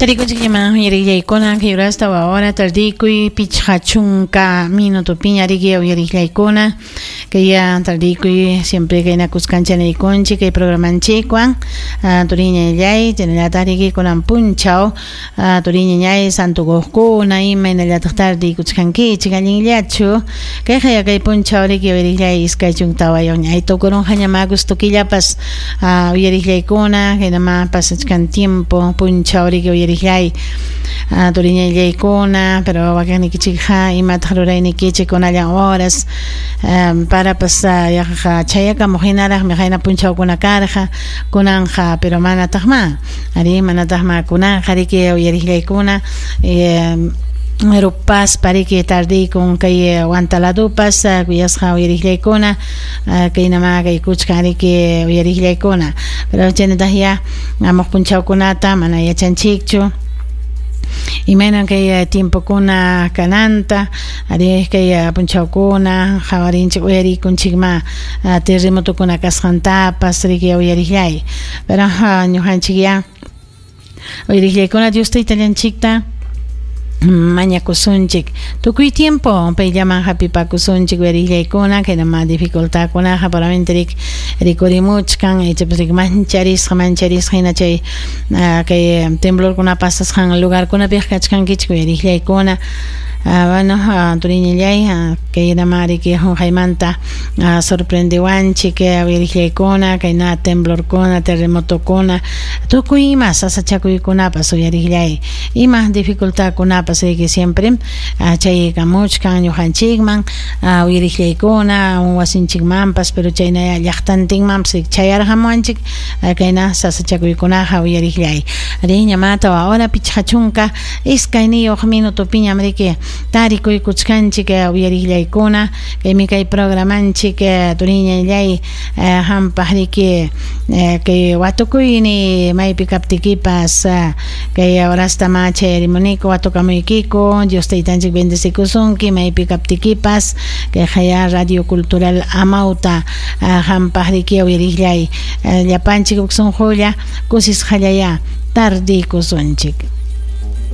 Tarikunchikñamá uyariqllaykuna kay urasta wawara tardikuy 50 minutopiña riki uyariqllaykuna kay tardikuy siempre kayna kuskancha niykunchik kay programanchikwan turiñallay chaynallataq riki kunan punchaw turiñañay santukuqkuna imaynallataq tardikuchkankichik allinllachu kayqa kay punchaw riki uyariqllay 24 ñay tukurunqa agosto killapas uyariqllaykuna kaynama pasachkan tiempo punchaw riki uyariqllay turiñallaykuna pero wakinnikichikqa imataq ruraynikichik kunallan horas parapas yaqa chayakamuq hinaraqmi qayna punchawkuna karqa kunanqa pero manataqma ari manataqma kunanqa riki uyariqllaykuna rupaspa riki tardikun kay Huantaladupas kuyasqa uyariqllaykuna kaynama kaykuchkan riki uyariqllaykuna pero chaynataq ya amuq punchawkunata mana yachanchikchu imaynan kay tiempokuna kananta ari kay punchawkuna qawarinchik uyarikunchikma terremotokuna kasqantapas riki uyariqllay pero ñuqanchik ya uyariqllaykuna Dios taytallanchikta mañakusunchik tukuy tiempo payllaman hapipakusunchik uyariqllaykuna kaynama dificultadkunaqa paramente rik rikurimuchkan ichapas rik mancharisqa mancharisqa hina chay kay temblorkuna pasasqan lugarkunapiqa kachkankichik uyariqllaykuna bueno turiñallay kaynama riki qunqaymanta sorprendewanchik uyariqllaykuna kayna temblorkuna terremotokuna tukuy ima sasachakuykunapas uyariqllay ima dificultadkunapas riki siempre chaykamuchkan ñuqanchikman uyariqllaykuna wasinchikmanpas pero chayna llaqtantinmanpas chayarqamuwanchik kayna sasachakuykunaqa uyariqllay riña 4 hora 52 minutopiñam riki tarikuykuchkanchik uyariqllaykuna kaymi kay programanchik turiñallay hampaq riki kay watukuyni maypi kaptikipas kay horasta ma chayarimuniku watukamuykiku Dios taytanchik bendecikusunki maypi kaptikipas kay haya Radio Cultural Amauta hampaq riki uyariqllay llapanchik huk sunqulla kusisqallaya tardikusunchik.